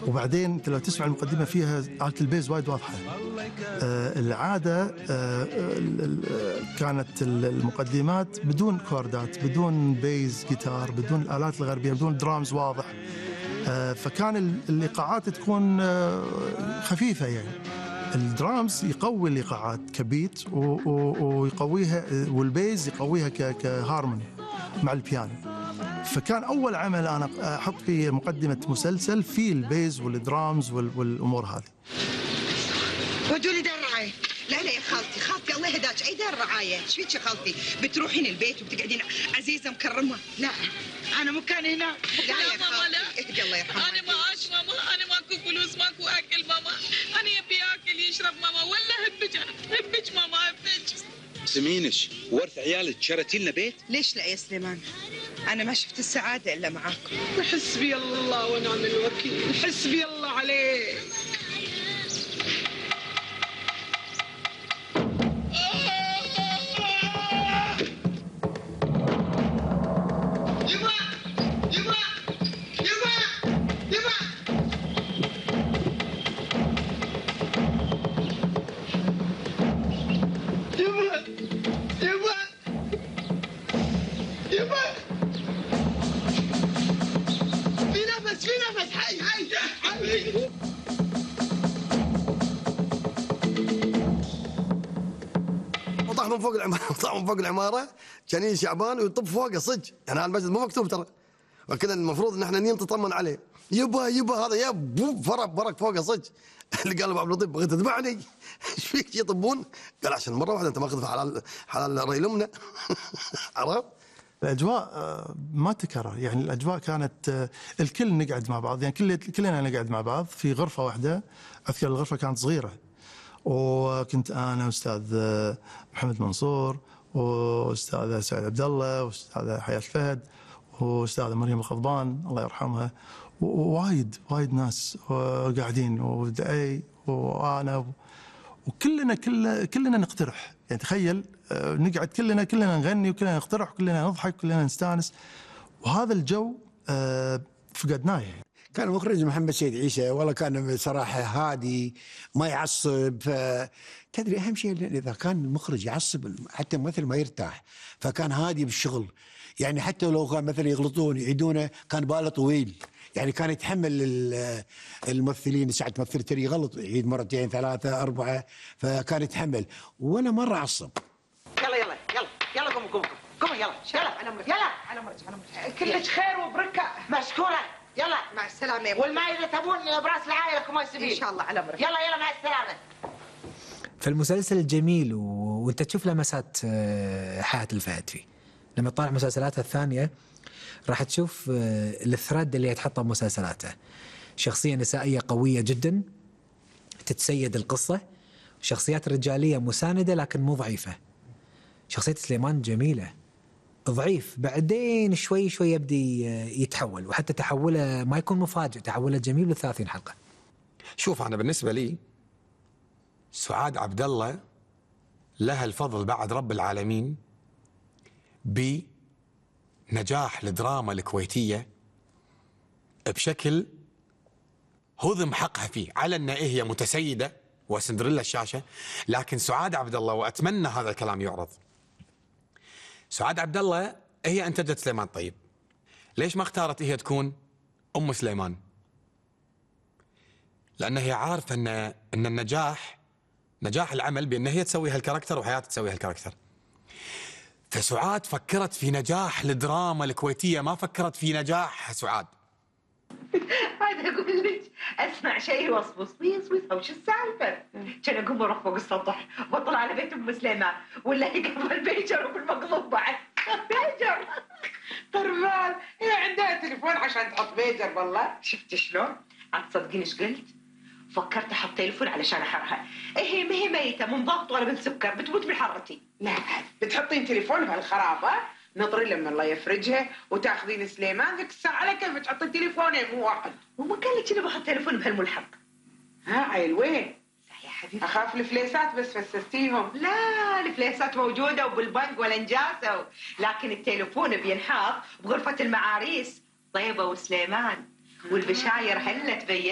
وبعدين أنت لو تسمع المقدمة فيها آلة البيز وايد واضحة. العادة كانت المقدمات بدون كوردات، بدون بيز جيتار، بدون الآلات الغربية، بدون درامز واضح. فكان الإيقاعات تكون خفيفة يعني. الدرامز يقوي الإيقاعات كبيت ويقويها، والبيز يقويها كهارموني مع البيانو. فكان أول عمل أنا أحط فيه مقدمة مسلسل في البيز والدرامز والأمور هذه. ودوا لي دار الرعاية. لا يا خالتي الله يهداك، أي دار رعاية؟ ايش فيك يا خالتي؟ بتروحين البيت وبتقعدين عزيزة مكرمة؟ لا أنا مكاني هنا. لا يا خالتي اهدي الله يرحمها. أنا ما عاش ماما، أنا ماكو فلوس، ماكو أكل ماما، أنا يبي ياكل يشرب ماما، ولا هبج ماما هبج. سمينش ورث عيالك شرتي لنا بيت؟ ليش لا يا سليمان؟ أنا ما شفت السعادة إلا معاكم. حسبي الله ونعم الوكيل، حسبي الله عليك. وطاح من فوق العمارة كان شعبان ويطب فوقه صدق، يعني على المسجد مو مكتوب ترى، وكذا المفروض ان احنا نطمن عليه. يبا هذا يا فرق فوقه صدق. اللي قال ابو عبد اللطيف بغيت تذبحني ايش فيك يطبون؟ قال عشان مره واحده انت ماخذ حلال ري لمنا. عرفت؟ الأجواء ما تكرر، يعني الأجواء كانت الكل نقعد مع بعض، يعني كلنا نقعد مع بعض في غرفة واحدة. أذكر الغرفة كانت صغيرة، وكنت أنا وأستاذ محمد منصور وأستاذ سعيد عبد الله وأستاذ حياة الفهد وأستاذة مريم الخضبان الله يرحمها، ووايد ناس قاعدين، ودعي وأنا وكلنا نقترح. يعني تخيل نقعد كلنا نغني وكلنا نقترح وكلنا نضحك وكلنا نستانس، وهذا الجو فقدناه يعني. كان مخرج محمد سيد عيسى، والله كان بصراحة هادي ما يعصب. تدري أهم شيء إذا كان المخرج يعصب حتى الممثل ما يرتاح، فكان هادي بالشغل. يعني حتى لو كان مثلا يغلطون يعيدونه كان باله طويل، يعني كان يتحمل الممثلين. ساعة ممثل تري يغلط يعيد مرتين ثلاثة أربعة، فكان يتحمل ولا مرة عصب. يلا قوموا يلا على مرج كلش خير وبركة مشكورة. يلا مع السلامة. والماء إذا تبون براس العائلة لكم سبيل إن شاء الله على مرج. يلا مع السلامة. فالمسلسل جميل وانت تشوف لمسات حياة الفهد فيه. لما تطالع مسلسلاته الثانية راح تشوف الثرد اللي يتحطه بمسلسلاته. شخصية نسائية قوية جدا تتسيد القصة، شخصيات رجالية مساندة لكن مو ضعيفة. شخصية سليمان جميلة، ضعيف بعدين شوي يبدي يتحول، وحتى تحوله ما يكون مفاجئ، تحوله جميل ل30 حلقة. شوف أنا بالنسبة لي سعاد عبد الله لها الفضل بعد رب العالمين بنجاح الدراما الكويتية بشكل هضم حقها فيه، على أن هي متسيدة وسندريلا الشاشة، لكن سعاد عبد الله، وأتمنى هذا الكلام يعرض، سعاد عبد الله هي أنتجت سليمان طيب. ليش ما اختارت هي تكون أم سليمان؟ لأن هي عارفة أن نجاح العمل بأن هي تسوي هالكاركتر وحياة تسوي هالكاركتر. فسعاد فكرت في نجاح الدراما الكويتية، ما فكرت في نجاح سعاد. هذا أقول لك أسمع شيء يوصوص وش السالفة؟ كان أقوم أروح فوق السطح وأطلع على بيت أم سليمان، ولا يقفل البيجر وبالمقلوب بعد. بيجر طربان هي عندها تليفون عشان تحط بيجر. والله شفت شلون؟ عاد تصدقين ايش قلت؟ فكرت احط تليفون علشان احرها. هي ما هي ميته من ضغط ولا من سكر، بتموت من حرتي. لا بتحطين تليفون بهالخرابه، نطري لما الله يفرجها وتاخذين سليمان ذيك الساعه على كيف تحطين تليفونين مو واحد. وما قال لك انا بحط تليفون بهالملحق؟ ها عيل وين؟ يا حبيبي اخاف الفليسات بس فسستيهم. لا الفليسات موجوده وبالبنك ولا نجاسه، لكن التليفون بينحط بغرفه المعاريس طيبه وسليمان، والبشاير هلا تبين.